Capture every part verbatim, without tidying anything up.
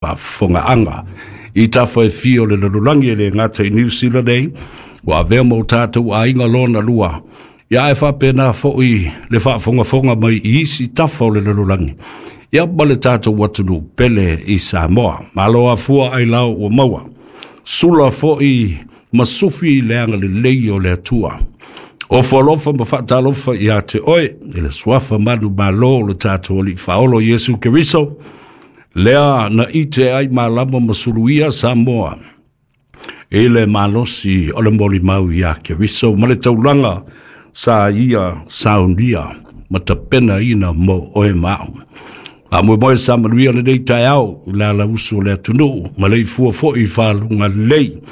Faafofogaaga i tafa e fia o le lalolagi, e le gata i Niu Sila nei ua avea ma o tatou aiga lona lua, ia ae faapena foi le faafogafoga mai i isi tafa o le lalolagi, ia ma le tatou atunuu pele i Samoa. Malo afua ailao ua maua. Sula foi ma sufi le agalelei o le Atua. Ofo alofa ma faatalofa ia te oe i le suafa manumalo o le tatou Alii Faaolo Iesu Keriso, lea na ite ai malama ma suluia Samoa i le malosi o le molimau ia Keriso ma le taulaga sa ia saunia ma tapenaina mo oe ma au. Faamoemoe sa manuia lenei taeao i le alausu o le atunuu ma le ifua foi i faluga lelei,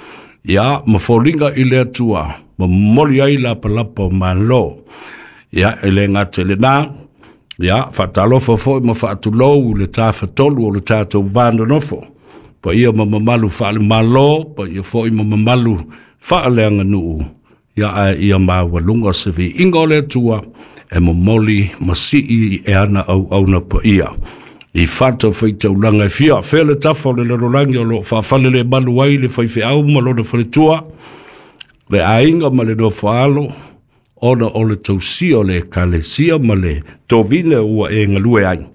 ia ma foliga i le Atua ma momoli ai lapalapa o malo. Ia e le gata i lena, ia faatalofa foi ma faatulou i le tafatolu o le tatou va nonofo, paia ma mamalu faale-Malo, paia foi ma mamalu faaleaganuu, ia ae ia maualuga se viiga o le Atua e momoli ma sii e ana auauna paia i fatafaitaulaga e fia. Fea le tafa o le lalolagi o loo faafalelemalu ai le faifeau ma lona faletua, le aiga ma le nofoalo, ona o le tausia o le Ekalesia ma le tovine ua e galue ai.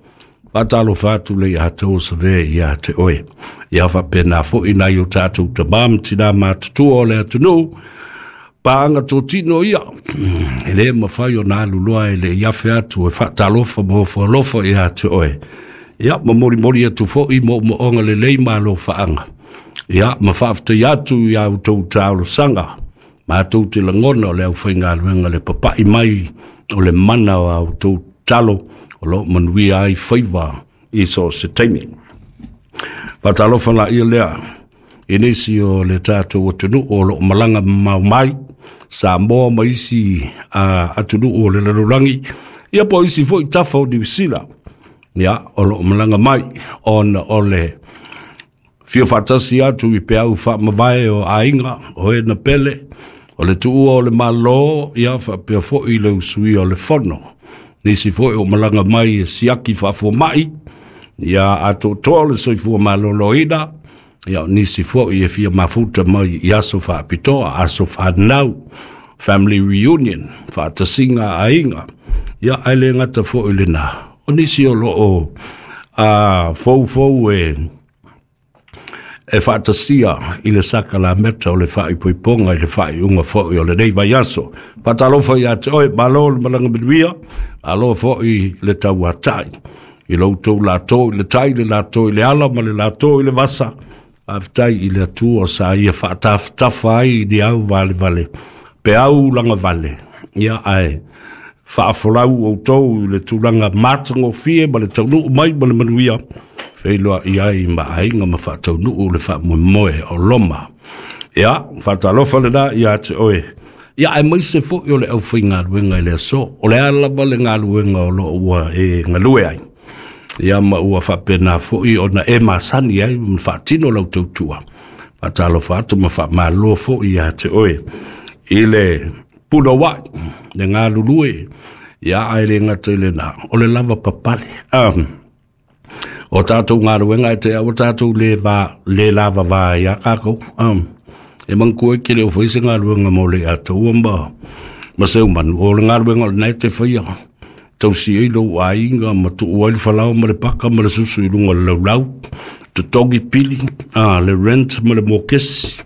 Faatalofa atu le ia tou save ia te oe. Ia faapena foi nai o tatou tamā ma tinā matutua o le atunuu, paaga totino ia, e le mafai ona alu loa e le i afe atu e faatalofa ma ofo alofa ia te oe. Ia ma molimoli atu foi moomooga lelei ma alofaaga. Ia ma faafetai atu ia outou talosaga. Matou te lagona o le aufaigaluega le papai mai o le mana o a outou talo o lo o manuia ai faiva i so o se taimi. Faatalofa laia lea i nisi o le tatou atunuu o lo o malaga mamao mai Samoa ma isi uh, atunuu o le lalolagi, ia po o isi foi tafa o Niu Sila, ia o lo o malaga mai ona o le fia faatasi atu i peau faamavae o aiga o e na pele o le tuua o le Malo, ia faapea foi le usuia o le fono. Nisi foi o malaga mai e siaki faafuamai ia atoatoa o le soifua maloloina, ia nisi foi e fia mafuta mai i aso faapitoa, aso fanau, family reunion, faatasiga aiga. Ia ae le gata foi lena, o nisi o loo a foufou e e faatasia i le sakalameta o le faaipoipoga i le faaiuga foi o lenei vaiaso. Faatalofa ia te oe, malo le malaga manuia, malo foi le tauatai i lo outou lato i le tai, le lato i le ala ma le lato i le vasa. Faafetai i le Atua sa ia faatafatafa ai i ni au valevale, peau lagavale, ia ae faafolau outou i le tulaga matagofie ma le taunuu mai ma le manuia, feiloai ai ma aiga ma faataunuu le faamoemoe o Loma. Ia, faatalofa lena ia te oe. Ia aemaise foi o le aufaigaluega i le aso. O le a lava le galuega o lo o ua e galue ai, ia ma ua faapena foi ona e masani ai ma faatino lau tautua. Faatalofa atu ma faamalo foi ia te oe i le punouai, le galulue, ia ae le gata i lena, o le lava papale. Um, o tatou galuega e te au tatou le va le lava va ia kākou. Um, e manatua e ke le o fai se galuega mo le atua ma ma se umanu. O le galuega o lena e te faia tausi ai lou aiga ma tuu ai le falao ma le paka ma le susu i luga o le laulau, totogi pili, ah, le rent ma le mokesi.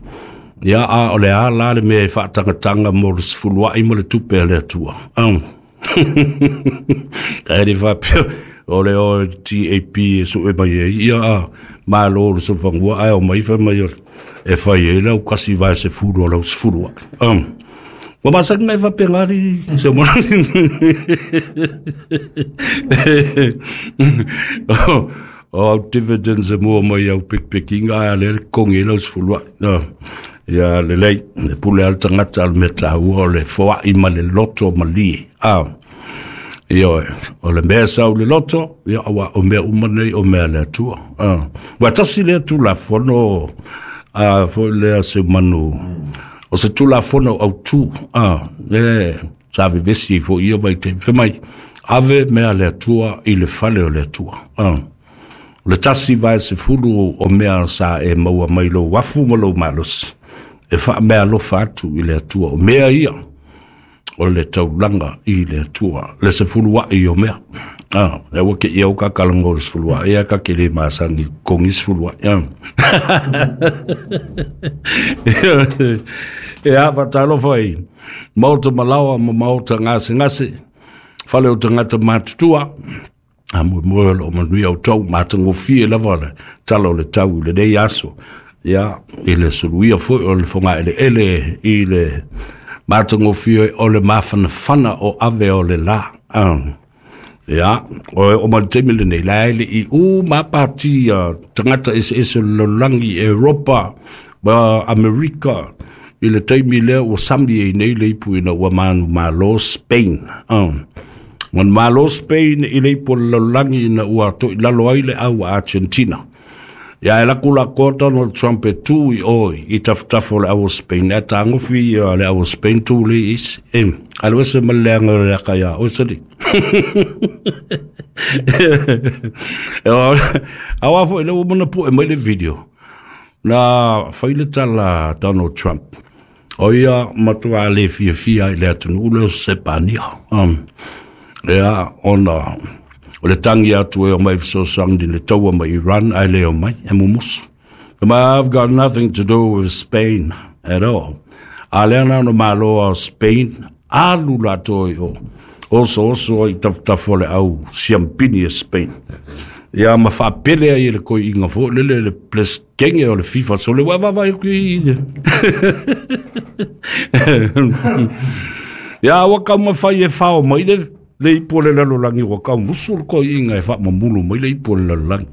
Ia a o le a la le mea e faatagataga mo le sefuluai ma le tupe a le Atua. Um. Ka e faapea o le o T A P e sue mai ai, ia a malo le soifangua ae o mai fai mai e fai ai lau kasi vae sefulu o lau sefuluai. Um. Ua masani mai faapena li se mo o au dividends e mua mai au pekipekiga ae a lea le totogi ai lau sefuluai. Ia lelei, le pule a le tagata o le mea taua o le foai ma le loto malie. Ah. Ioe, o le mea sau le loto, ia aua o mea uma nei o mea le Atua. Ah. Ua tasi lea tulafono a foi lea se manu o se tulafono autu, ah, e sa vevesi foi ia vaitaimi. Fai mai, ave mea le Atua i le fale o le Atua. Ah. O le tasi vae sefulu o mea sa e maua mai lou afu ma lou malosi e faameaalofa atu i le Atua. O mea ia o le taulaga i le Atua, le sefulu a'i o mea. Ah, e ua ke ia o ka kalango le sefulu a'i, ia ka ke le masangi kongi sefulu a'i. E a whatalofa i maota malawa ma maota ngase ngase, fale o tangata matutua, a moe moe o manui au tau, matangofie lava le tala o le tau i le nei aso, ia, i le suluia foi o le whonga ele ele i le matangofie o le mafanafana o ave o le la. Ah. Ia, o o ma te mele nei la ele i u mapati tangata ese ese lolangi Europa ma Amerika i le taimi lea ua sami ai nei le ipu ina ua manu malo Spain. Ah. Manu malo Spain i le ipu lolangi ina ua toi lalo ai le au Argentina. Ia e laku la kota no Trump e tu i oi i tafutafo le au Spain. E tāngofi le au Spain tu le isi. E, alu ese ma le anga le aka ia, oi sali. Awa fo ile umana pu e mai le video. Na whaile tala Donald Trump. O ia matua le fia fia i le atunu ule o Sepania. Um, ia ona o le tangi atu e o mai fesoasoani le taua mai Iran ai le o mai e mumusu. I've got nothing to do with Spain at all. A lea na no malo o Spain alu latou i o oso oso i tafutafu o le au siampini e Spain. Ia ma faapele ai le koi inga fo lele le pleskenge o le FIFA so le wa va va i. Ia wa ka ma fai e fao mai le le ipo le lalolagi ua kau musu le koi'iga e fa'amamulu mai le ipo le lalolagi.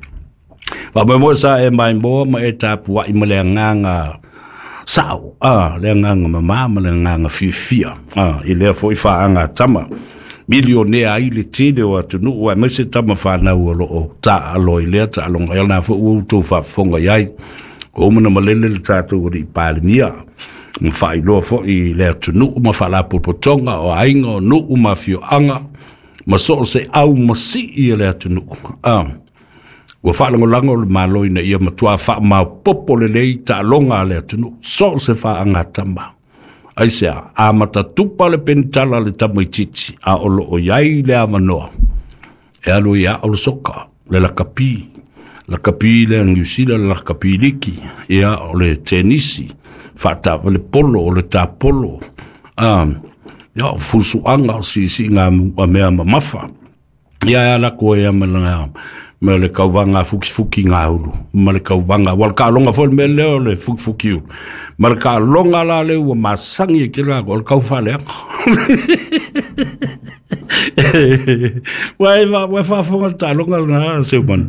Fa'amoemoe sa e maimoa ma e tapua'i ma le agaga sa'o, a le agaga mamā ma le agaga fiafia, a i lea fo'i fa'agatama milionea ai le tele o atunu'u ae maise tama fanau o lo'o ta'alo i lea ta'aloga ia lena fo'i ua outou fa'afofoga i ai o umana malele le tatou ali'i Palemia ma fa'ailoa fo'i le atunu'u ma fa'alapotopotoga o aiga o nu'u ma afio'aga ma so'o se au masi'i e le atunu'u. Ah, ua fa'alagolago o le malo ina ia matuā fa'amaopopo lelei ta'aloga a le atunu'u so'o se fa'agatama. Ai sea, a matatupa le penitala le tamaititi a o lo'o iai le avanoa e alu ia o le soka le lakapi lakapi le New Zealand lakapi liki ia o le tenisi fa'atava le polo o le tapolo, ah, ia o fusu'aga o siisi'iga a mea mamafa ia e ala koe ia ma le ma le kauvaga fukifuki gaulu ma le kauvaga ua le ka'aloga foi le mea lea o le fukifuki ulu ma le ka'aloga la le ua masagi e kela o le kaufaleaga. Ua e ua e faafofoga le ta'aloga lena seumana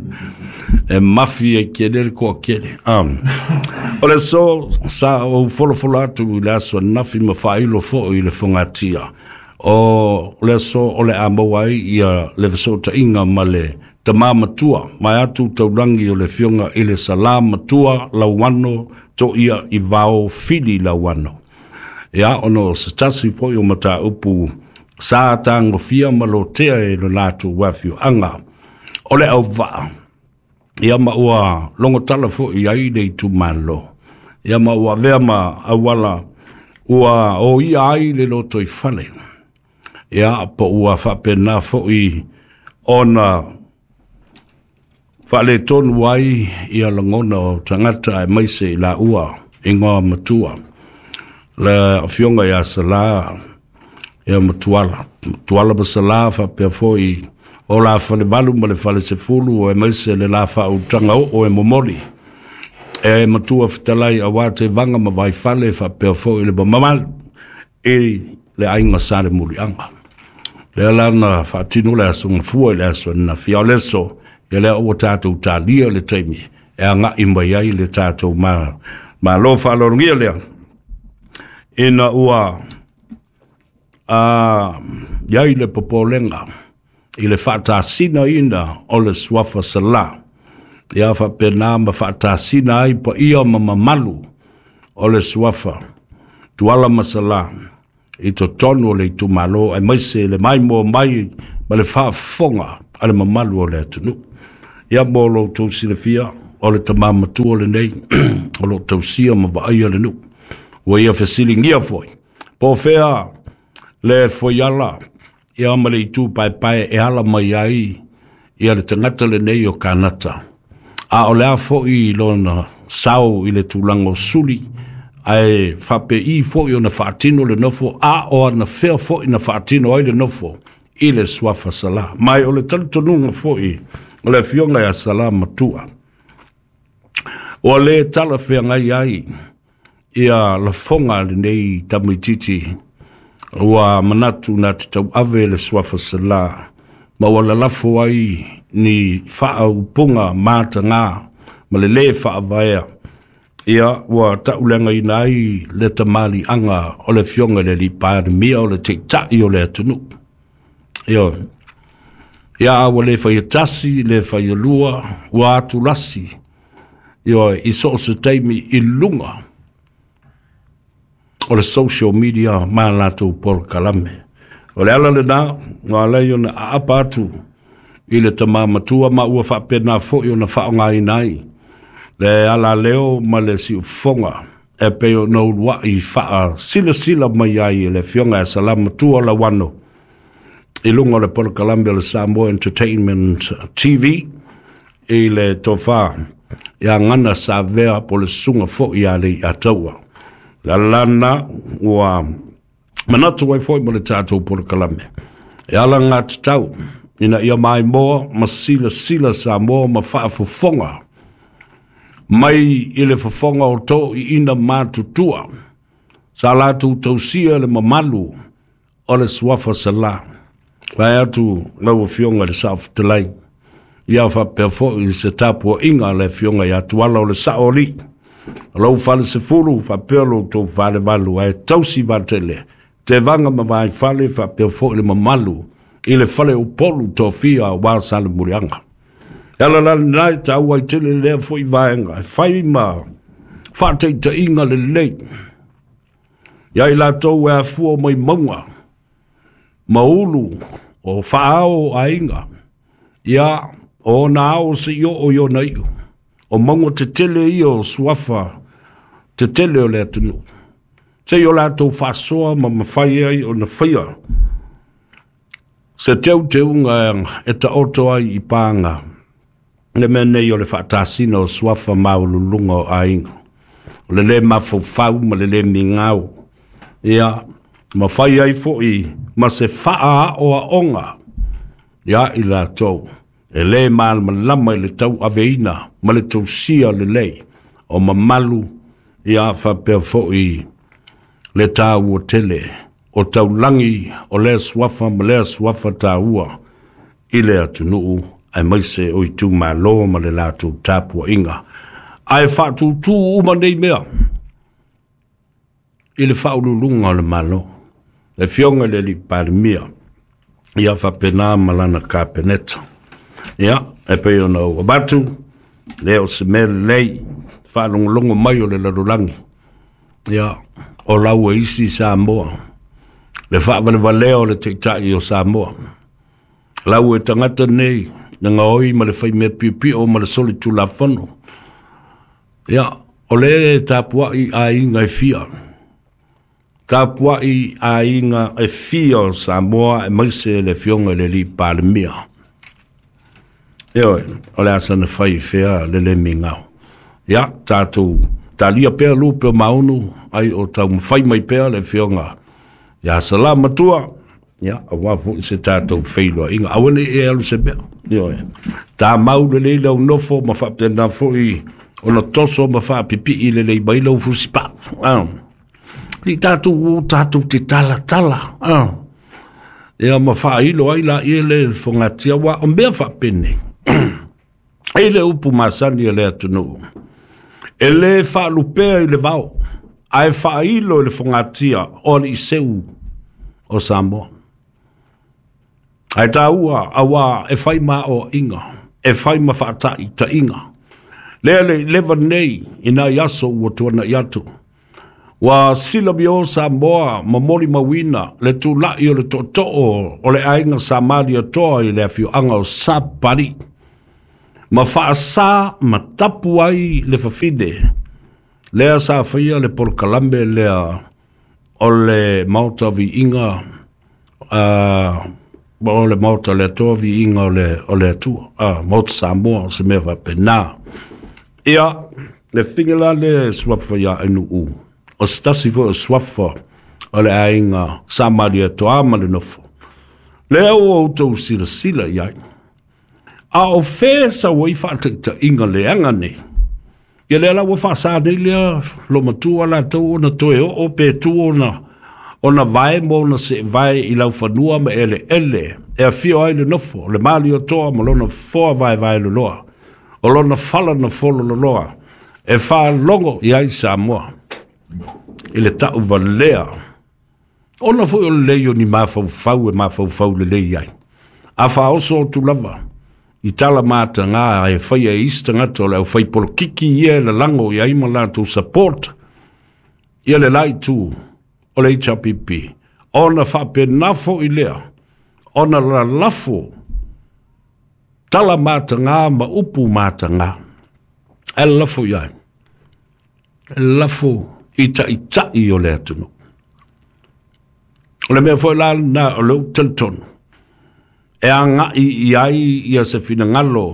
e mafi e kele le koa kele. Um, o le so sa ou folofolo atu i le aso nafi ma fa'ailo fo'i i le fogatia o le aso o le a maua ai ia le feso'ota'iga ma le tamā matua mai atu taulangi o le fioga i le salā matua lauano to'ia i vao fili lauano. Ia ona o se tasi fo'i o matāupu sa tagofia ma lotea e lo latou afio'aga o le auva'a. Ia ma ua logotala fo'i ai le itumalo. Ia ma ua avea ma auala ua oia ai le loto i fale. Ia po ua fa'apena fo'i ona fa'aletonu ai ia lagona o tagata ae maise i la'ua igoa matua le afioga iā Salā ia matuala matuala ma Salā fa'apea fo'i o la falevalu ma le falesefulu e maise le la fa'autaga o'o e momoli e matua fetalai auā tevaga ma vaifale fa'apea fo'i le mamalu i le aiga sa le muli'aga. Lea lana fa'atino le aso gafua i le aso anafia o le aso ia lea ua tatou talia le taimi e aga'i mai ai le tatou ma malo fa'aloalogia lea ina ua a iai le popolega i le fa'atasina ina o le suafa Salā ia fa'apena ma fa'atasina ai paia ma mamalu o le suafa Tuala ma Salā i totonu o le itumalo ae maise le maimoa mai ma le fa'afofoga a le mamalu o le atunu'u. Ia mo lo outou silafia, o le tamā matua lenei o loo tausia ma vaaia le nuu. Ua ia fesiligia foi po o fea le foiala ia ma le itu paepae e ala mai ai ia le tagata lenei o Kanata, a o le a foi lona sao i le tulaga o suli, ae faapei foi ona faatino le nofo, a o ana fea foi na faatino ai le nofo i le suafa Salā. Ma o le talitonuga foi o le afioga ia Salā Matua, ua lē talafeagai ai ia lafoga lenei tamaititi ua manatu na te tauave le suafa Salā, ma ua lalafo ai ni faaupuga matagā ma le lē faavaea. Ia ua tauleagaina ai le tamaliiaga o le afioga i le alii Palemia, o le taitai o le atunuu. Ioe, ia a ua lē faia tasi, lē faia lua, ua atulasi, ioe, i so o se taimi i luga o le social media ma latou polokalame. O le ala lenā ua alai ona aapa atu i le tamā matua, ma ua faapena foi ona faaaogaina ai le alaleo ma le siufofoga e pei ona uluai faasilasila mai ai e le afioga ia Salā Matua Lauano i luga o le polokalame o le Samoa Entertainment T V i le tofā ia Gana Savea po le susuga foi ia Leiataua. Le ala lena ua manatu ai foi mo le tatou polokalame e ala gatatau ina ia maimoa ma silasila Samoa ma faafofoga mai i le fofoga o toiina matutua sa latou tausia le mamalu o le suafa Salā. Vae atu lau afioga i le Saofetalai, ia faapea foi se tapuaiga a le afioga ia Tuala o le Sao Alii, o lou falesefulu faapea lo outou falevalu, ae tausi vatele tevaga ma vaifale faapea foi le mamalu i le fale Upolu tofia aua Salemuliaga. E ala la lena e taua ai tele lea foi vaega e fai ma faataitaiga lelei ia i latou e afua mai mauga ma ulu o faaao aiga, ia o ona ao se i oo i ona iu, o mauga tetele ia o suafa tetele o le atunuu, sei o latou faasoa ma mafai ai ona faia se teuteuga e taoto ai i paga le mea nei o le faatasina o suafa maualuluga o aiga, o le lē mafaufau ma le lē migao, ia ma fai ai foi ma se faaaoaoga ia i latou e lē malamalama i le tauaveina ma le tausia lelei o mamalu, ia faapea foi le taua tele o taulagi o lea suafa ma lea suafa taua i le atunuu aemaise o itumalo ma le latou tapuaiga. Ae faatutū uma nei mea i le faauluuluga o le Malo, le afioga i le alii Palemia, ia faapena ma lana kapeneta. Ia e pei ona ou avatu lea o se mea lelei faalogologo mai o le lalolagi, ia o lau e isi Samoa le faavalevalea o le taitai o Samoa, lau e tagata nei le gaoi ma le faimea piopio ma le solitulafono. Ia o le tapuai aiga e fia, tapuai aiga e fia o Samoa aemaise le afioga i le alii Palemia. Ioe, o le asa na fai fea le lē migao. Ia tatou talia pea lupe o maunu ai o taumafai mai pea le afioga ia Salā Matua, ia auā foi se tatou feiloaiga. Aua nei e alu se mea. Ioe, tamau lelei lau nofo ma faapena foi ona toso ma faapipii lelei mai lau fusipaa. I tatou tatou te talatala ia ma faailo ai laia le fogatia, ua o mea faapenei e le upu masani a le atunuu e lē faalupea i le vao ae faailo i le fogatia o alii seu o Samoa. Ae taua auā e fai ma aoaiga, e fai ma faataitaiga lea le leva nei i nai aso ua tuana'i atu, ua silamio Samoa ma molimauina le tula'i o le tootoo o le aiga Sa Malietoa i le afioaga o Sapali. Ma faasā ma tapu ai le fafine. Lea sa faia le polokalame lea o le maota viiga uh, o le maota le Atua viiga o le, o le Atua uh, maota Samoa o se mea faapena. Ia le figa la le suafa ia Ainuu o se tasi foi o suafa o le aiga Sa Malietoa ma le nofo. Lea ua outou silasila i ai. A o fea sau ai faataitaiga leaga nei. Ia lea la ua faasā nei lea lo matua latou ona toe oo pe tu ona ona vae ma ona seevae i laufanua ma eleele e afio ai le nofo le Malietoa ma lona foa vaevae loloa o lona fala na folo loloa e faalogo i ai Samoa i le tauvalea ona foi o lelei o ni mafaufau e mafaufau lelei ai a faaoso atu lava i tala matagā e faia e isi tagata o le aufaipolokiki ia e lalago i ai ma latou support ia le la itu o le H R P P ona faapena foʻi lea ona lalafo tala matagā ma upu matagā e lalafo i ai e lalafo i taʻitaʻi o le atunuu. O le mea foi la lena o le ou talitonu e agaʻi i ai ia se finagalo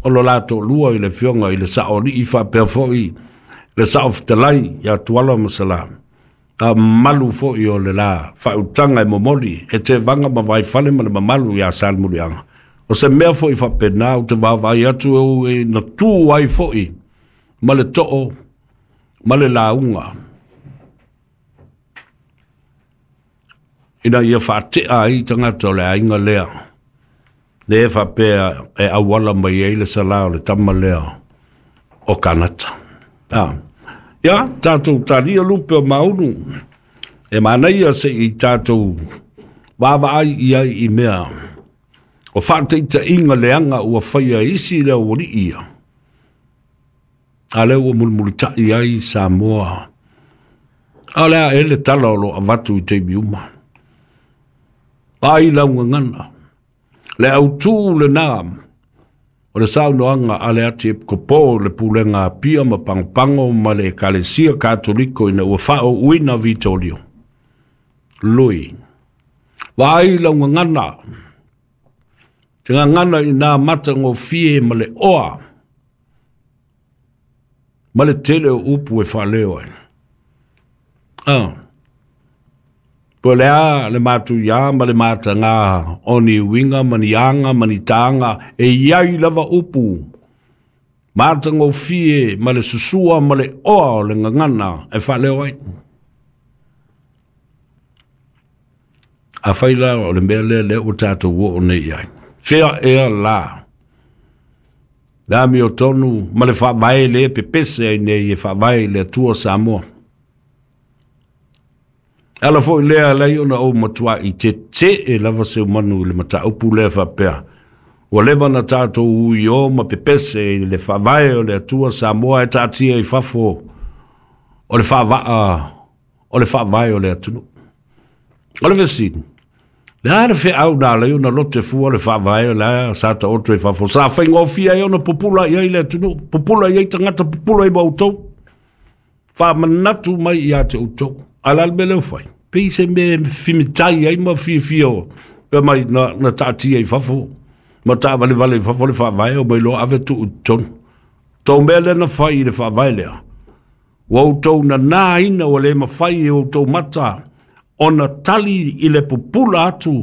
o lo latou lua i le afioga i le saʻoaliʻi faapea foʻi le saʻofetalai ia Tuala ma Salā a mamalu foʻi o le la faautaga e momoli e tevaga ma vaifale ma le mamalu iā Salemuliaga. O se mea foʻi faapena ou te vaavaai atu e e na tu ai foʻi ma le too ma le lauga ina ia faateʻa ai tagata o le aiga lea le faapea e auala mai ai le salā o le tama lea o Kanata. Ah. Ia, tatou talia lupe o maunu e manaia seʻi tatou vaavaai i ai i mea o faataitaiga leaga ua faia e isi le aualii ia a lea ua mulimulitaʻi ai Samoa. A o le a e le tala o loo avatu i taimi uma ai laugagana le autū lenā o le saunoaga a le ati epikopo le pulega Apia ma Pagopago ma le Ekalesia Katoliko ina ua faaouina Vitolio Lui. Vaai laugagana te gagana i nā matagofie ma le oa ma le tele o upu e faaleo ai. Ah. Po le a le matuiā ma le matagā o ni uiga ma ni aga ma ni tāga e iai lava upu matagofie ma le susua ma le oa o le gagana e faaleo ai. Afai la o le mea lea lea ua tatou oo nei ai. Fea ea la le amiotonu ma le faavae le pepese ai nei e faavae i le Atua Samoa. Ala foi lea lei ona ou matuaʻi tetee lava seumanu i le mataupu lea faapea. Ua leva na tatou ui o ma pepese i le faavae o le Atua Samoa e taatia i fafo o le faavaa o le faavae o le atunuu. O le fesili, le a le feau na alai ona lote fua le faavae o le sa taoto i fafo. Sa faigofie ai ona pupula i ai le atunuu, pupula i ai tagata, pupula i ma outou. Faamanatu mai ia te outou. A la le mea lea ua fai. Pei se mea fimitai ai ma fiafia o pe mai na, na taatia i fafo. Ma taavalevale i fafo le faavae o mai loa ave tuu i totonu. Tou mea lea na fai i le faavae lea. Ua outou nanāina ua le mafai e outou mata ona tali i le pupula atu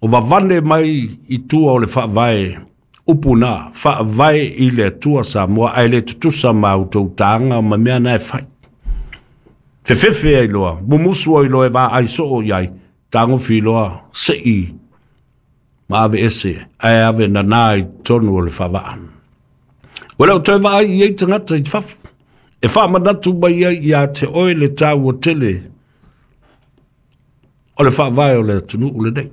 o vavane mai i tua o le faavae upu na faavae i le Atua Samoa ae le tutusa ma outou tāga ma mea na e fai. Fefefe ai loa, mumusu ai loa e vaai soo i ai, tagofi loa seʻi ma ave ese ae ave nanā i totonu o le faavaa. Ua le o toe vaai i ai tagata i fafo e faamanatu mai ai ia te oe le taua tele o le faavae o le atunuu lenei.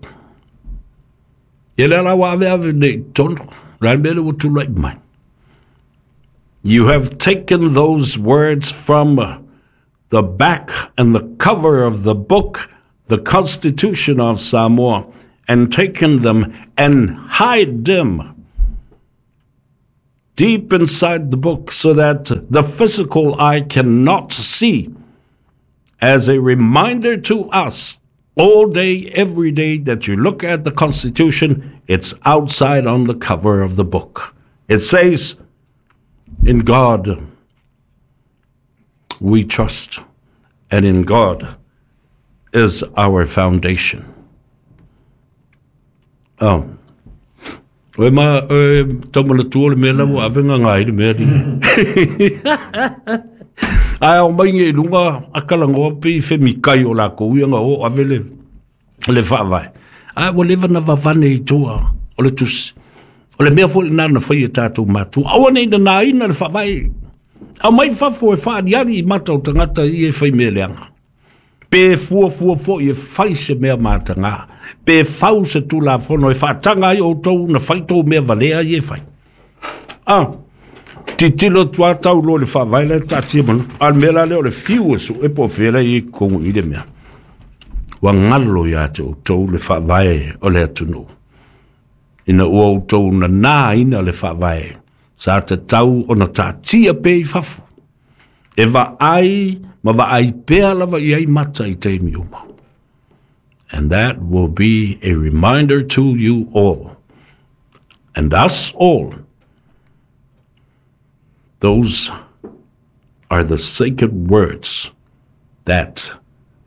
Ia lea la ua aveave nei i totonu, le a le mea lea ua tulai mai. You have taken those words from the back and the cover of the book, the Constitution of Samoa, and taken them and hide them deep inside the book so that the physical eye cannot see, as a reminder to us all day, every day that you look at the Constitution, it's outside on the cover of the book. It says, in God we trust, and in God is our foundation. Oh. Oe ma, oe, taumana tua le mea lau avenga ngai le mea li. Ai au mai nge lunga akala ngoa pe i whemikai o la kou ia nga o ave le, le whaavae. Ai ua leva na vavane i tua o le tusi. O le mea fo le nana whai e tātou mātua. Aua nei na nā ina le whaavae. Au mai whafo e whaariari i mata o tangata i e whai mea leanga. Pe fua fua fo i e whai se mea mātanga. Pe whau se tūla whono e whaatanga ai o tau na whai tō mea valea i e whai. Ah, titilo tua tau lo le whaavae le tātia manu. Al mea la leo le fiu e su e po whela i e kongu i le mea. Wa ngalo ia te o tau le whaavae o le atunu. Ina ua o tau na nā ina le whaavae. Sa te tau o na tātia pe i whafo. E va ai, ma va ai pea lava i ai mata i te miuma. And that will be a reminder to you all, and us all. Those are the sacred words that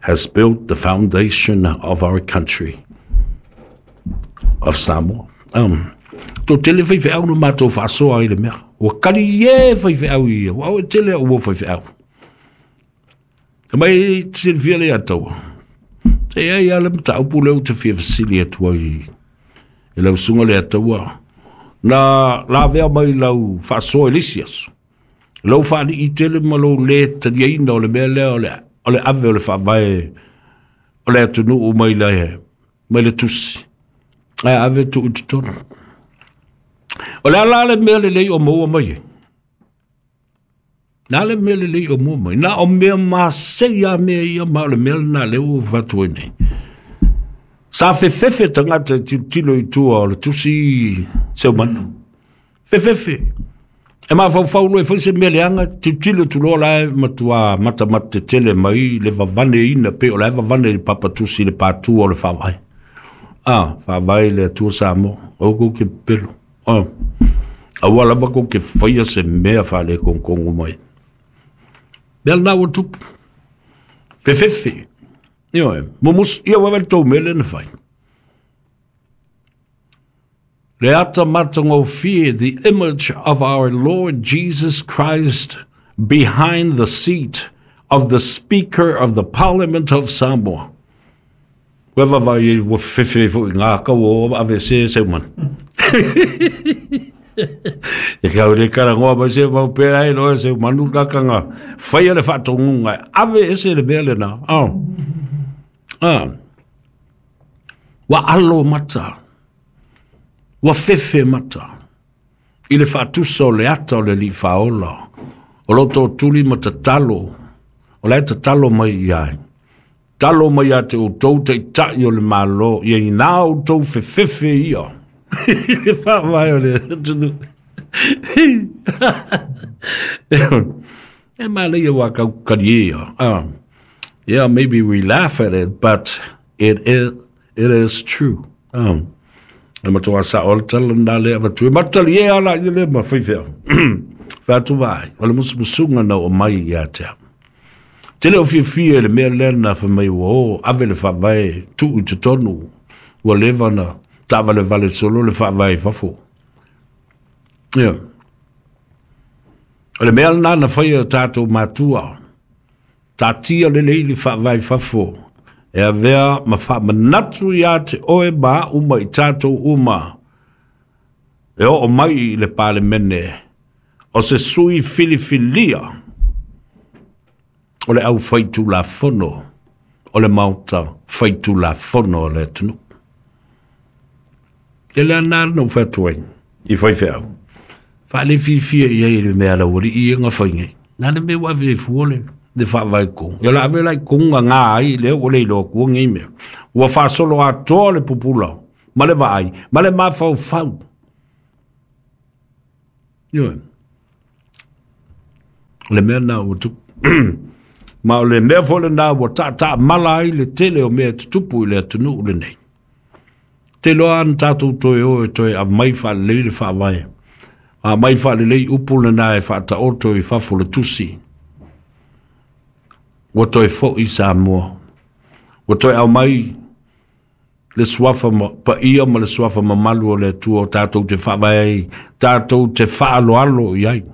has built the foundation of our country, of Samoa. Um, tō tele whai wheau no mātou whaasoa i le mea. Ua kari e whai wheau i ia. Ua au e tele au ua whai wheau. Ka mai silfia le ataua. Te ai ale mtaupu leo te fia fasili atua i e lau sunga le ataua. Na la vea mai lau whaasoa i lisi aso. Lau whaani i tele ma lau le taniaina o le mea lea o le, o le ave o le whaavae o le atunuu mai le, mai le tusi. Ai ave tu i totonu. O le ala le mea le lei o maua mai e. Nā le mea le lei o maua mai. Nā o mea masei a mea ia ma o le mea nā leo o whatu e nei. Sa fefefe tangata tilo i tua o le tusi seumanu. Fefefe. E ma whau e whai se mea leanga, tilo tuloa lae matua mata mate tele mai le vavane ina pe o lae vavane le papatusi le pātua o le whawai. Ah, whawai le atua Samoa. O kou ke pelo. Ah. Aua lava kou ke whaia se mea whale kongkongo mai. Mea nā ua tupu. Fefefe. Io e, mumus, ia wawe tō mele na whai. Le ata matangofie, the image of our Lord Jesus Christ behind the seat of the Speaker of the Parliament of Samoa. Wewa vai ua fefe fo i ngā kau o ave se se man. E kau le karangoa mai se mau pera e loe se manu kakanga. Whaia le whaatongunga. Ave ese le mea le nā. Oh. Ah. Wa alo mata. Wa fefe mata. I le whaatusa o le ata o le li whaola. O loto o tuli ma tatalo. O le tatalo mai iai. Talo mai a te o tau te tai o le malo. Ia i nā o tau fefefe ia. Le whaamai o le atunu. E mālei wā kau kari ia. Yeah, maybe we laugh at it, but it is, it is true. Um, e matua sa o le tala nā le awatu. E matali e ala i le ma whaiwhea. Whātu vai. O le musumusunga na o mai ia te au. Tele o fiafia le mea lea na whamai ua o, ave le whaavae, tu i te tonu, ua lewa na tāwale vale solo le whaavae whafo. Yeah. O le mea nā na whai o tātou mātua, tātia le leili whaavae whafo, e avea ma whaamanatu ia te oe ma uma i tātou uma, e o o mai i le palemene, o se sui filifilia, o le au whaitu la fono, o le mauta whaitu la fono o le atunu. E lea nā no whatuai, i whai wheau. Whaale whiwhia i ei le mea la wari i ngā whai ngai. Nā le mea wawe e fuole, le whaavai kong. Ia la awe lai konga ngā ai, le o le iloa kua ngai mea. Ua whaasolo atoa le pupula, ma le vaai, ma le mawhau whau. Ioe. O le mea na ua tupu. Ma o le mea foi lena ua taataa mala ai le tele o mea tutupu i le atunuu lenei. Te loa ana tatou toe o e toe aumai faalelei le faavae. Aumai faalelei upu lena e faataoto i fafo le tusi. Ua toe foi Samoa. Ua toe aumai le suafa paia ma le suafa mamalu o le Atua o tatou te faavae ai, tatou te faaloalo i ai.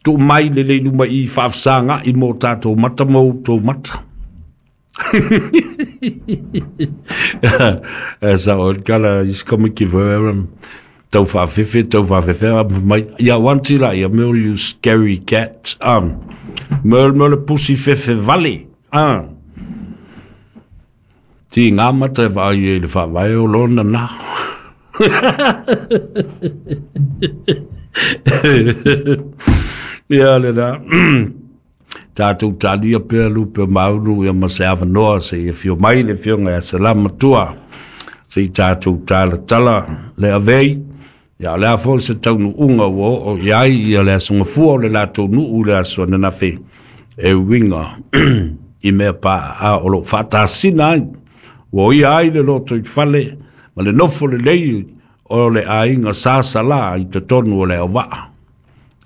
Tuu mai le lei luma i faafesagai mo tatou mata ma outou mata. Sa o kala is kama ki veram tau faafefe tau faafefe mai ia wanti la ia meo you scary cat um meo meo le pusi fefe vale ah ti ngā mata e vaai e le faavae o lona na. Ia le na. Tātou talia pea lupe maunu ia ma se avanoa se ia fio mai le fionga ia salama tua. Se i tātou tala tala le avei. Ia le afo se taunu unga ua o iai ia le asunga fua o le latou nuu le aso ananafi e winga i mea pa a o lo whaatasina ai. Ua ia ai le loto i fale ma le nofo le lei o le ainga sasala i totonu o le auvaa.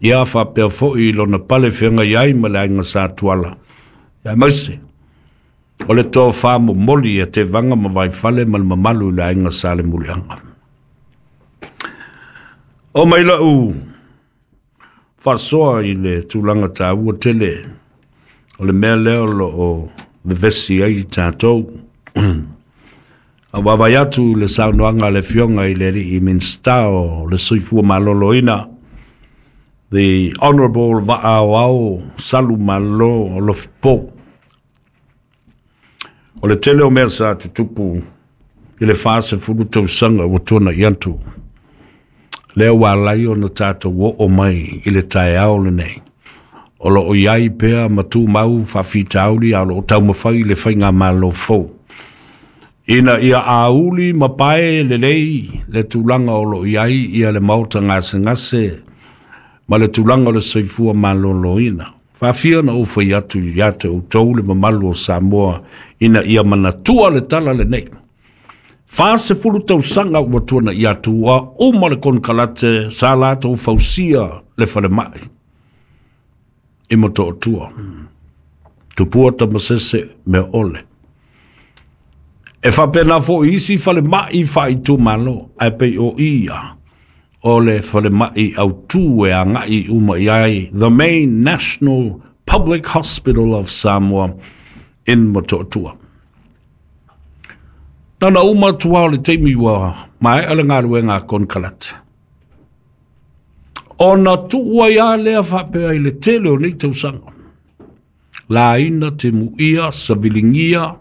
Ia whapea foi i lona pale whianga iai ma le ainga sa tuala. Ia maise, o le toa wha moli e te vanga ma vai fale ma le mamalu i le ainga sa le mulianga. O mai lau whasoa i le tūlanga tāua tele o le mea leo lo o vevesi ai tātou. A wawai atu le saunoanga le fionga i le alii Minista o le Soifua Maloloina, the Honorable Va'aoao Salu Malo Alofipo. O le tele o mea sa tutupu i le whasefulu tausaga ua tona i atu. Lea ua lai ona tātou o mai i le taeao lenei. O lo o iai pea matu mau whawhitauri a lo o taumawhai le whainga malo fou. Ina ia auli mapae le lei le tūlanga o lo iai ia le maota ngase ngase ma le tūlanga o le soifua maloloina. Whawhia na uwhai atu i ate o tau le mamalu o Samoa ina ia manatua le tala le nei. Whasefulu tausaga ua tuana i atu a uma le konkalate sa latou fausia le whalemai. I moto o tua. Tupua tamasese mea ole. E whapena fo isi whalemai whaitu malo ai pei o ia o le whalemai au tū e a ngai uma iai, the main national public hospital of Samoa in Motootua. Nana uma tua o le teimi ua mai ale ngā konkalate. O na tuua ia lea whapea i le tele o nei tausaga. La ina te muia, savilingia,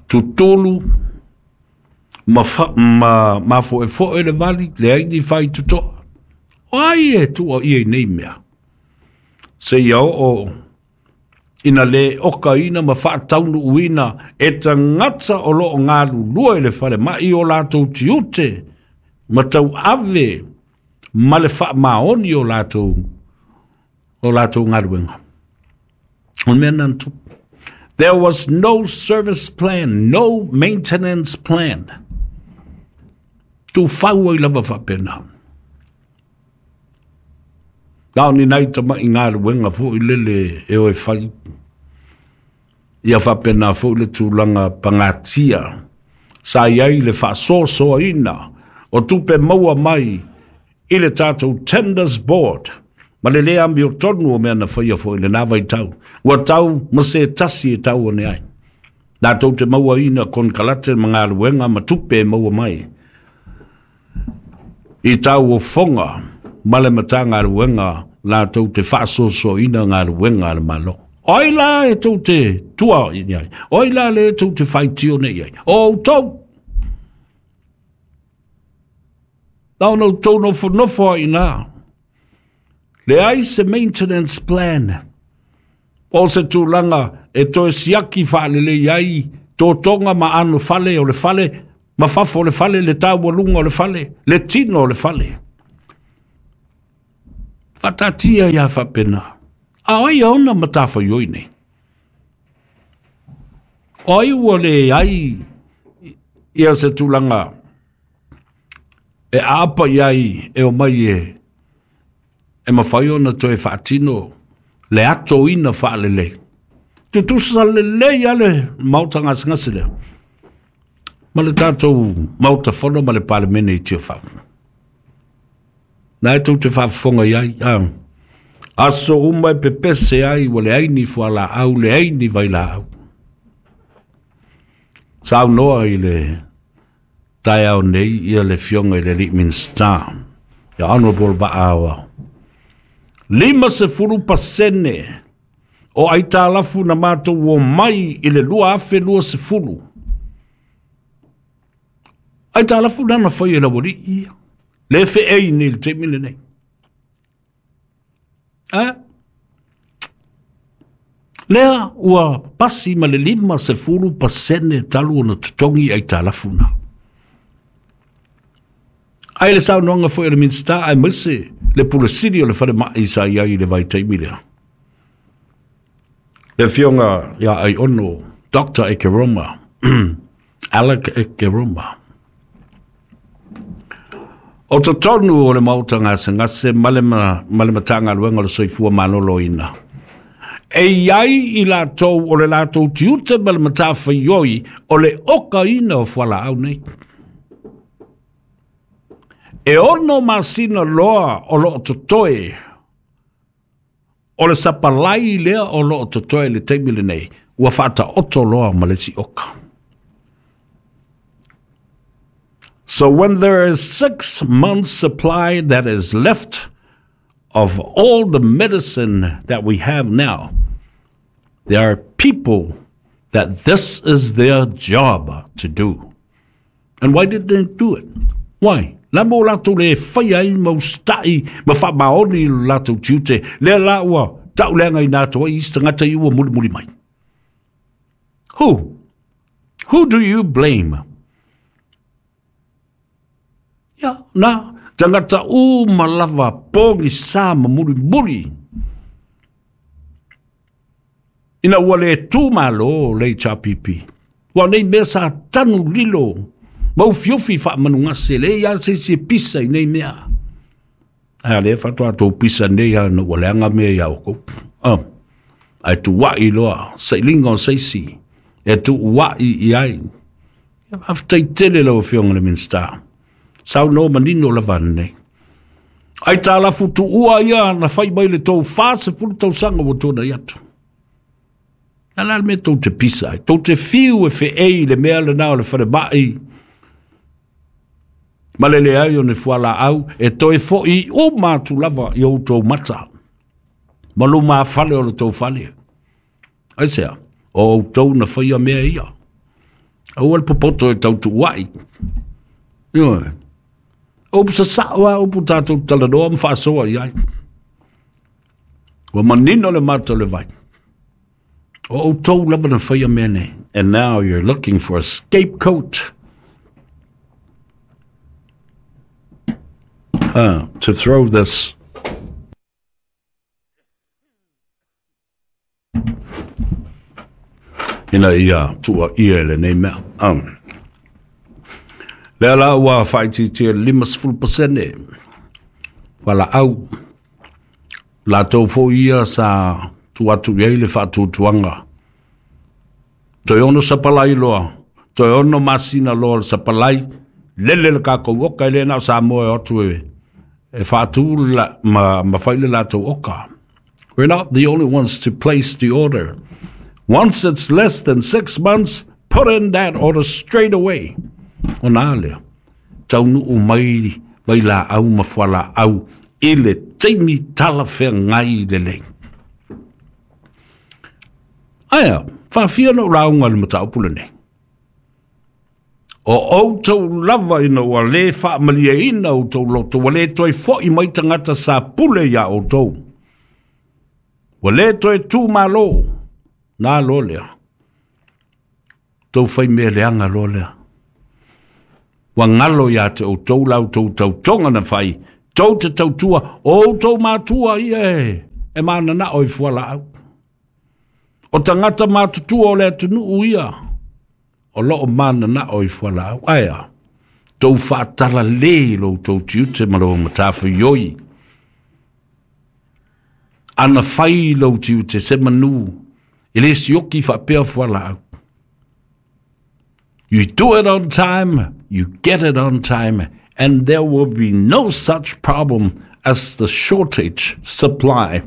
tutolu, ma, fa, ma, ma fo e fo e le vali, le aini whai tutoa. O ai e tua ia i nei mea. Se ia o ina le oka ina ma whaataunu uina e tangata o loo ngālu lua i le whare mai o lātou tiute ma tau ave ma le wha maoni o lātou o lātou ngāruenga. O mea nā tupu. There was no service plan, no maintenance plan. Tu whaua i lava whapena. Nā ni nei tama i ngāruenga fo i lele e oe whai. Ia whapena fo i le tūlanga pangatia. Sa iai le whaasoasoa ina o tupe maua mai i le tātou tenders board. Ma le lea ambi o tonu o mea na whaia fo i le nā vai tau. Ua tau ma se tasi e tau o ne ai. Nā tau te maua ina konkalate ma ngāruenga ma tupe e maua mai. I tau o whonga ma le mata ngāruenga nā tau te whaasoso ina ngāruenga le malo. Oi la e tau te tua i ai. Oi la le e tau te whaitio ne i ai. O tau! Nā no tau no whanofo i nā. Le ai se maintenance plan. O se tūlanga e toe siaki whaalele iai tō tonga ma anu fale o le fale, ma fafo o le fale, le taualunga o le fale, le tino o le fale. Faataatia ia faapena. A o ai ona matafaioi nei? O ai ua leai ia se tulaga e aapa i ai e omai e e mafai ona toe faatino le atoina faalelei. Tutusa lelei a le maota gasegase lea ma le tatou Maota Fono ma le Palemene i Tiafau. Na e tou te faafofoga i ai, aso uma e pepese ai ua leai ni fualaau, leai ni vailaau. Saunoa i le taeao nei ia le Afioga i le alii Minisita, ia Honorable Vaa. Lima sefulu pasene o aitalafu na matou omai i le lua afe lua sefulu. Aitalafu na na fai e le aualii ia. Le feei nei i le taimi lenei. A? Lea ua pasi ma le lima sefulu pasene talu ona totogi aitalafu na. Ai le saunoaga foi a le Minisita aemaise le Pule Sili o le Falemai sa i ai i le vaitaimi lea. Le Afioga ia Aiono, Doctor Ekeroma, Alec Ekeroma. O totonu o le maota gasegase ma le ma le Matagaluega o le Soifua Maloloina. E iai i latou o le latou tiute ma le matafaioi o le okaina o fualaau nei. E ono masina loa o loo totoe, o le sapalai lea o loo totoe le taimi lenei, ua faataoto loa ma le isi oka. So when there is six months supply that is left of all the medicine that we have now, there are people that this is their job to do. And why did they do it? Why? La mo latou le fai ai ma usita'i ma faamaoni i lo latou tiute, lea la ua tauleagaina atu ai isi tagata i ua mulimuli mai. Who? Who do you blame? Ia, na, tagata uma lava pogisā ma mulimuli. Ina ua le tu malo le H R P P. Ua nei mea sa tanu lilo, ma ufiofi faamanugase, le ia se se pisa i nei mea. Ae lea faatoa tou pisa nei a na ua leaga mea ia oukou. Oh, ae tuuai loa, sailiga o seisi, e tuuai i ai. Ia faafetai tele lau Afioga i le Minisita. Saunoa manino lava nei. Ai talafu tuua ia na fai mai le tou fasefulu tausaga ua tuanai atu. Na la le mea tou te pisa ai. Tou te fiu e feei le mea lena o le falemai. Ma le leai o ni fualaau e toe fo'i uma atu lava i outou mata. Ma luma fale o le tou fale. Aisea, o outou na faia mea ia. Aua le popoto e tau tuuai. Ioe. O sasao a upu tatou talanoa ma faasoa i ai. Ua manino le mata o le vai. O outou lava na faia mea nei. And now you're looking for a scapegoat uh, to throw this ina ia tuuaia i lenei mea. Um. Lea la ua faaitiitia lima sefulu pasene fualaau. Latou foi ia sa tuu atu i ai le faatuatuaga. Toe ono sapalai loa, toe ono masina loa le sapalai, lele le kakou oka e le na o Samoa e o atu e, e faatu la, ma, ma fai le latou oka. We're not the only ones to place the order. Once it's less than six months, put in that order straight away. Ona lea, taunuu mai vailaau ma fualaau i le taimi talafeagai lelei. Aia, faafia na ulauga le mataupu lenei. O outou lava ina ua le faamalieina outou loto, ua le toe fo'i mai tagata sa pule iā outou. Ua le toe tumālō, na loa lea. Tou fai mea leaga loa lea. Ua galo iā te outou la outou tautoga na fai, Tou te tautua, o outou matua ia e, e mananao i fualaau. O tagata matutua o le atunuu ia, o loo mananao i fualaau. Ae a, tou faatalale i lo outou tiute ma lou matafaioi. Ana fai lou tiute se manu, e le sioki faapea fualaau. You do it on time, you get it on time, and there will be no such problem as the shortage supply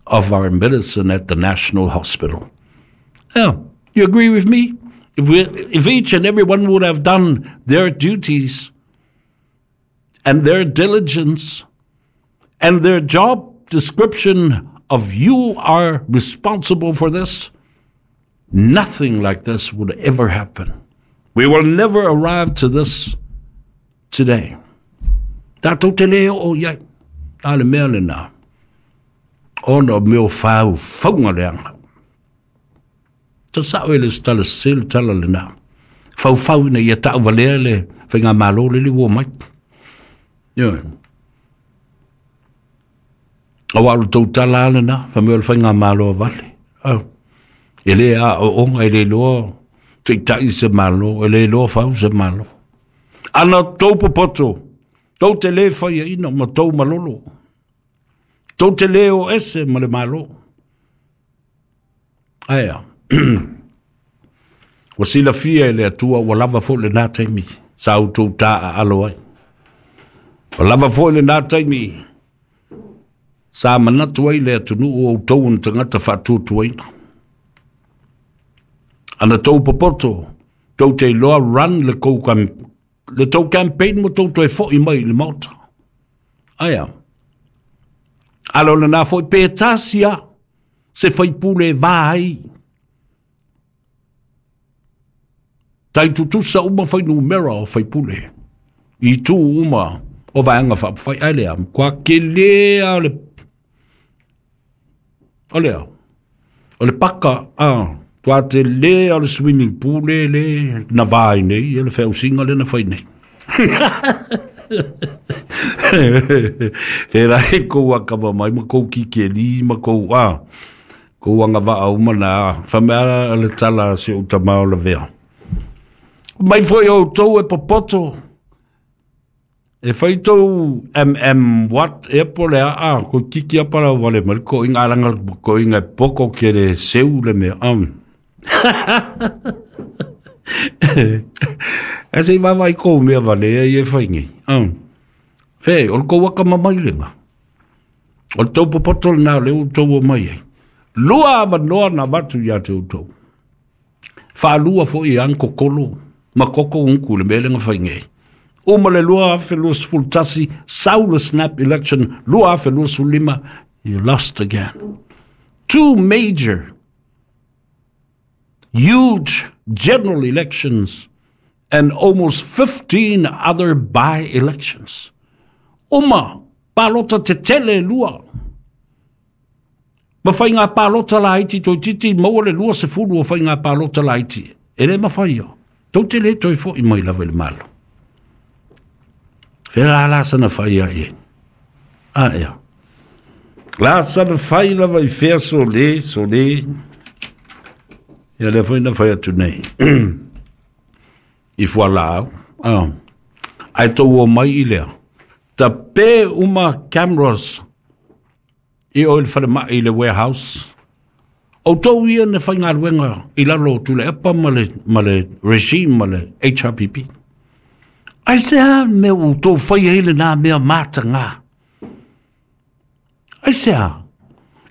of our medicine at the National Hospital. Yeah, you agree with me? If, we, if each and every one would have done their duties and their diligence and their job description of you are responsible for this, nothing like this would ever happen. We will never arrive to this today. Tatou te le oo i ai. A le mea lena. Ona o mea o faufauga leaga. Ta sao e le tala sese le tala lena. Faufau ina ia tauvalea le faigamalo le le ua mai. Ioe. Auā o le tou tala lava lena, fai mai o le faigamalo a vale. Au. E le aooga, e le iloa taitai se Malo, e le iloa fau se Malo. Ana tou popoto, tou te le faiaina ma tou malolo. Tou te le o ese ma le Malo. Ae a, ua silafia e le Atua ua lava foi lenā taimi sa outou taaalo ai. Ua lava foi lenā taimi sa manatu ai le atunuu o outou o ni tagata faatuatuaina. Ana tou popoto, tou te iloa run le kou le tou campaign ma tou toe foi mai i le Maota. Ae a, ala o lenā foi pe tasi lava se faipule e va ai. Tai tutusa uma fuainumera o faipule i itu uma o Vaega Faaupufai. Ae lea, matua tele lava o le o lea, o le paka, a, matua tele lava o le swimming pool le le na va ai nei, ia le feausiga lea na fai nei. Pērā e kou akamamai ma kou kikeli ma kou, a, kou agavaa uma na, fai mai a le tala a si ou tama o lavea. Mai foi outou e popoto, e fai tou M M what ea po o le a, a, koe kiki apa lau vale mai le koʻiga a laga le koʻiga e poko ke le seu le mea. Um. Ae se i vaavaai kou mea valea ia e fai nei. Um. Fe, o le kou akamamai lena. O le tou popoto lenā o lea ua outou omai ai. Lua avanoa na avatu iā te outou. Faalua foi e ang kokolo ma koko uku i le mea lea na fai nei. Uma le lua afe luasefulu tasi, sau le snap election lua afe luasefulu lima, you lost again. Two major, huge general elections and almost fifteen other by-elections. Uma palota tetele e lua. Ma faiga palota laiti toeitiiti maua le lua sefulu o faiga palota laiti. E le mafai ia. Tou te le toe foi mai lava i le Malo. Fea la la sana fai ai e. A ea. La sana fai lava i fea sole, sole. Ia lea foi na fai atu nei. I fualaau. Ah. Ae tou omai i lea. Tape uma cameras i o i le falemai i le warehouse. Outou ia na faigaluega i lalo o Tuilaepa ma le, ma le regime ma le H R P P. Aisea mea ua outou faia ai lenā mea matagā? Aisea?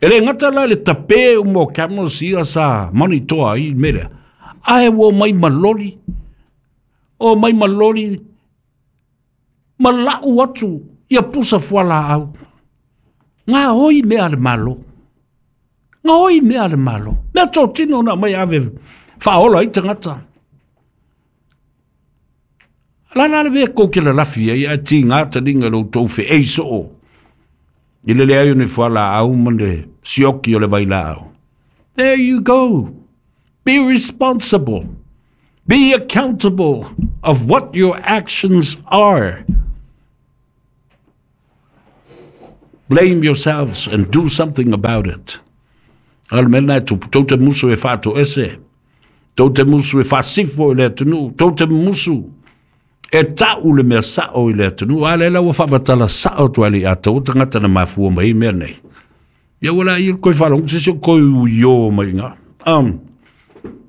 E le gata la i le tape uma o cameras ia sa monitoa ai le mea lea, ae ua omai ma loli, omai ma loli ma lau atu ia pusa fualaau. Gaoi mea a le Malo. Gaoi mea a le Malo. Mea totino na aumai ave faaola ai tagata. La la le mea kou ke lalafi ai ae tiga taliga i lo outou feei soo i le leai o ni fualaau ma le sioki o le vailaau. There you go. Be responsible. Be accountable of what your actions are. Blame yourselves and do something about it. A le mea lena e tupu, tou te musu e faatoese, tou te musu e faasifo i le atunuu, tou te musu e ta'u le mea sa'o i le atunuu, a lea la ua faamatala sa'o atu ai le ia tou tagata na mafua mai ai mea nei. Ia ua laia le koe faalogo se isi o koe uiō mai iga. Um,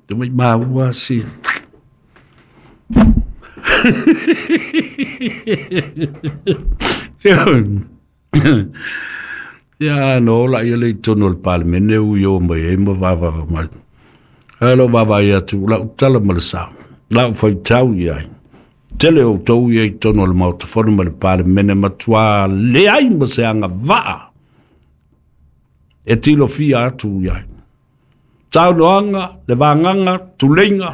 te mai maua si. Ia no la ia le i tonu o le Palemene uiō mai ai ma vavava mai. Ae lou vaavaai atu la'u tala ma le sa. La'u faitau i ai. Tele outou ia i tonu o le Maota Fono ma le Palemene matuā leai ma se agavaa e tilofia atu i ai. Saunoaga, le vagaga, tuleiga.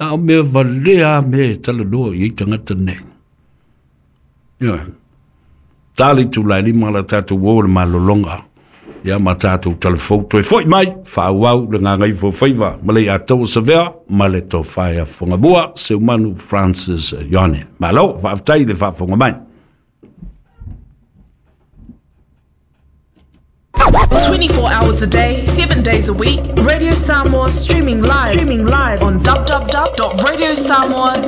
A o mea valea a mea e talanoa i ai tagata nei. Ioe. Ta le itula e lima la tatou uo i le malologa. Ia ma tatou talafou toe fo'i mai, faaauau le gagaifo faiva ma le Iataua Savea ma le Tofa ia Fogamua Seumanu Francis Ioane. Malo, faafetai i le faafofoga mai. twenty-four hours a day, seven days a week, Radio Samoa streaming live, streaming live on w w w dot radio samoa